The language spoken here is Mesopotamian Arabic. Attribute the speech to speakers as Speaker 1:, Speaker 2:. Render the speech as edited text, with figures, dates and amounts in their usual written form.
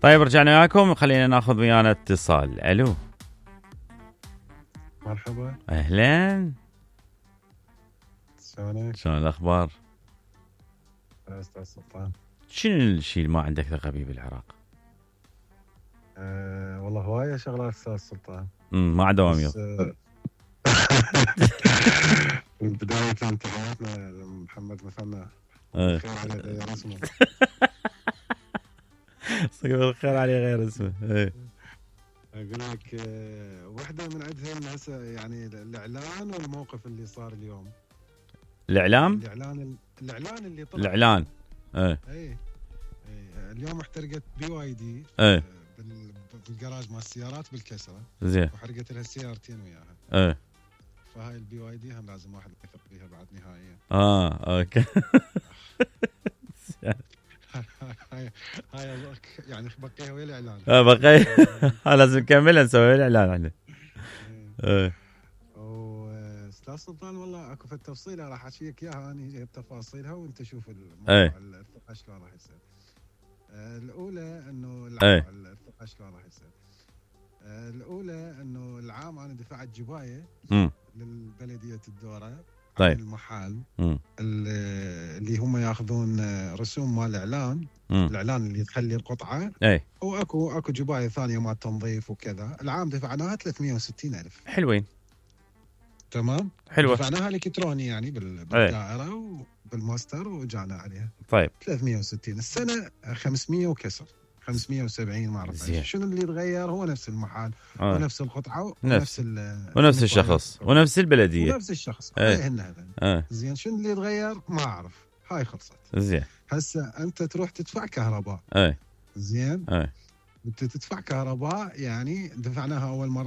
Speaker 1: طيب رجعنا وياكم، خلينا ناخذ ويانا اتصال. الو
Speaker 2: مرحبا.
Speaker 1: اهلا،
Speaker 2: شلونك؟
Speaker 1: شلون الاخبار؟
Speaker 2: استاذ سلطان.
Speaker 1: شنو الشيء اللي ما عندك ثقه به بالعراق؟
Speaker 2: والله هواية شغلات استاذ سلطان.
Speaker 1: ما عدا دوام
Speaker 2: من بداية انتخاباتنا محمد مثنى خير عليه غير اسمه.
Speaker 1: صقب الخير عليه غير اسمه.
Speaker 2: اقول لك وحده من عندهم هسه يعني الاعلان والموقف اللي صار اليوم.
Speaker 1: الاعلان
Speaker 2: اللي طلع.
Speaker 1: الاعلان
Speaker 2: اي اليوم احترقت BYD بالجراج مال السيارات بالكسره.
Speaker 1: زين.
Speaker 2: وحرقت لها سيارتين وياها. فهاي BYD هم لازم واحد يثق بيها بعد نهائيا.
Speaker 1: اوكي.
Speaker 2: هاي يعني بقيها ويا الاعلان.
Speaker 1: بقي لازم نكملها نسوي الاعلان احنا.
Speaker 2: استاذ سلطان والله اكو في التفصيله راح احكيك اياها اني بتفاصيلها وانت شوف الموضوع الثقه شلون راح يصير. الاولى انه الثقه شلون راح يصير. الاولى انه العام انا دفعت جبايه للبلديه الدوره.
Speaker 1: طيب.
Speaker 2: المحل اللي هم ياخذون رسوم مال الاعلان. الاعلان اللي تخلي القطعه. واكو جبايه ثانيه مال تنظيف وكذا. العام دفعناها 360,000.
Speaker 1: حلوين.
Speaker 2: تمام.
Speaker 1: حلوه.
Speaker 2: دفعناها الكتروني يعني بالدائره وبالماستر وجانا عليها.
Speaker 1: طيب.
Speaker 2: 360. السنه 500 وكسر. 570 ما اعرف شنو اللي تغير. هو نفس المحل ونفس القطعه
Speaker 1: ونفس الشخص ونفس البلديه
Speaker 2: ونفس الشخص. زين شنو اللي تغير ما اعرف. هاي خلصت.
Speaker 1: زين.
Speaker 2: هسه انت تروح تدفع كهرباء. زين. انت تدفع كهرباء يعني دفعناها اول مره